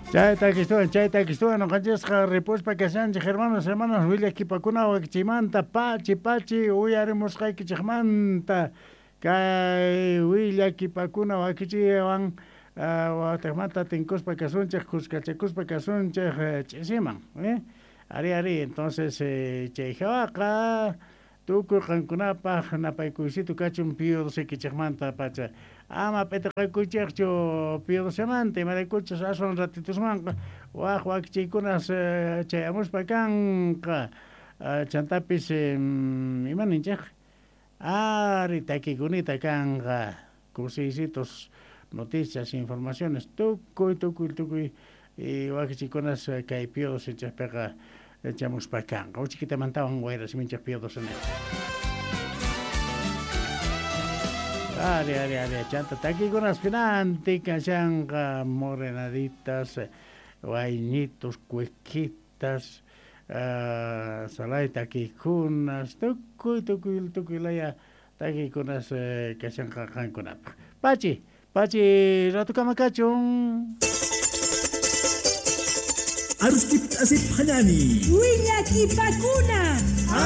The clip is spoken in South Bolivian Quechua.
Chayta kistuwan, chayta kistuwan noqanchisqa ripuspa kashanchik hermanos, hermanas willakipakuna wakichiymanta pachi pachi uyarimusqaykichikmanta kay willakipakuna wakichiwan watejmanta tinkuspa kasunchik, kuskachakuspa kasunchik ch'isiman, eh? Ari, ari, entonces chay hawaqa tukuy qankunapaq napaykuysitu kachun Pío XII pacha. Ama p'itiqakuychikchu Pío XII-manta, imaraykuchus aswan ratitusmanqa waj wakichiykunas chayamuspa kanqa. Chantapis ima ninchik? Ari, takikunita kanqa, kusiysitus noticias, informaciones, tukuy, tukuy, tukuy wakichiykunas kay Pío XII-piqa chamuspa kanqa. Uchikitamantawan wayrasiminchik Pío XII. Ari, ari, ari, chanta takikunas pinanti kashanqa morenaditas, wayñitos, cuequitas, salay takikunas, tukuy, tukuy, tukuy laya takikunas kashanqa qankunapaq. Pachi, pachi, ratukama kachun. Aruskip asip hanani. Willakipakuna.